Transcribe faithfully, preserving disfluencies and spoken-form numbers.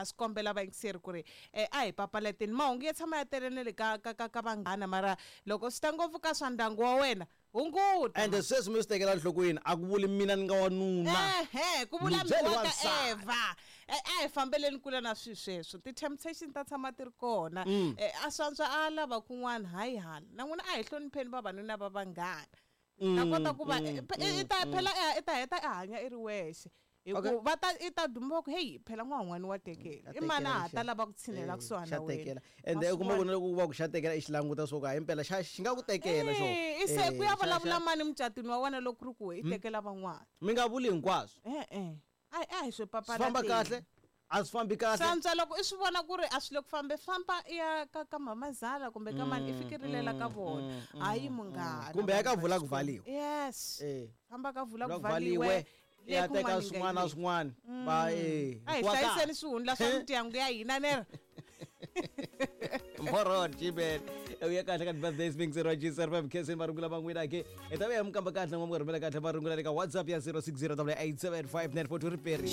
Ha swi kombela vayingiseri ku ri eh, a hi papalateni mahungu ya tshama ya tele na le ka ka ka ka vanghana, mara loko swi ta ngopfu ka swa ndyangu wa wena, hunguta. Ende sweswi mi swi tekela nhlokweni, a ku vuli mina ni nga wanuna. Ehe, ku vula Ni byeli mi wa ka wansati. Eva. Eh, a hi fambeleni kule na swilo sweswo. Ti-temptation ta tshama ti ri kona. Mm. Eh, a swantswa a lava kun'wana, hayi hala na n'wina a hi hlonipheni vavanuna va vanghana. Mm, Ta kota ku va mm, i i ta phela i ta heta i hanya i ri wexe, hi Okay. ku va ta i ta duma va ku, heyi, phela n'wan'wani wa tekela, i mani a ha ta lava ku tshinela kusuhani xa na wena. tekela. Ende u kuma ku na loko ku va ku xa tekela, i xi languta swo ku hayi mpela xa xi nga ku tekela xo. Eh, i se ku ya Eh, xa- vulavula xa- mani mucatwini wa wena loko ku ri ku i tekela van'wana? Mi nga vuli hinkwaswo. E-e, a a hi swi Swi famba papalateni. kahle, a swi fambi kahle. Swantswa loko i swi vona ku ri a swi le ku fambe, famba i ya ka ka mamazala kumbe ka mani, i fikirilela ka vona, hayi munghana. Kumbe ya ka vanhu va vula ku Xikwembu. valiwa. Yes. Eh. Famba ka vula Vula ku ku valiwe, valiwe, i ya le teka kun'wana yi nga swin'wana na yimeli. swin'wana va eh A hi wa kahle. hlayiseni swihundla swa mindyangu ya hina nero. Mporot Jibel uya kahle ka birthday swing zero G zero five K marungula van'wina ke hi ta vuya mi kamba kahle n'wa mi rhumela kahle marungula le ka WhatsApp ya zero six zero eight seven five nine four two riperi.